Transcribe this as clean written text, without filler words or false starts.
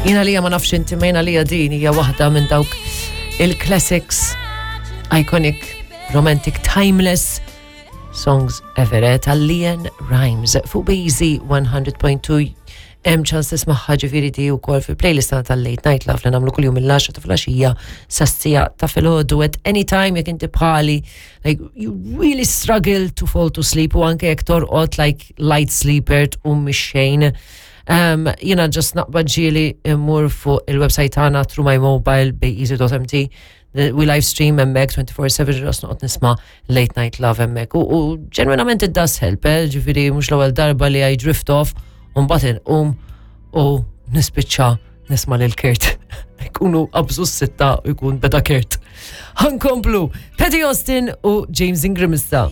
Jiena lija ma nafx inti ma jiena lija din hija waħda minn dawk il-classics iconic, romantic, timeless songs ever eh, tal-Leon Rhymes fuq Bazy 100.2 hemm ċans tismagħha ġifieri di wkoll fil-playlist tagħna tal-Late Night Love li nagħmlu kuljum mill-10 ta' filgħaxija sas-sija ta' filgħodu at any time jekk inti bħali like you really struggle to fall to sleep u anke jekk torqod like light sleeper tqum mix-xejn. Um, jina just naqbad ġieli immur fuq il-website tagħna through my mobile bayeasy.mt we live stream hemmhekk 24/7 ġos noqgħod nisma' late night love hemmhekk. U ġenwinament it does help, eh? ġifieri mhux l-ewwel darba li I drift off u mbagħad inqum u nispiċċa nisma' lil Kurt. Ikunu qabżu s-sitta u jkun beda Kurt. Ħankomplu Patty Austin u James Ingram issa.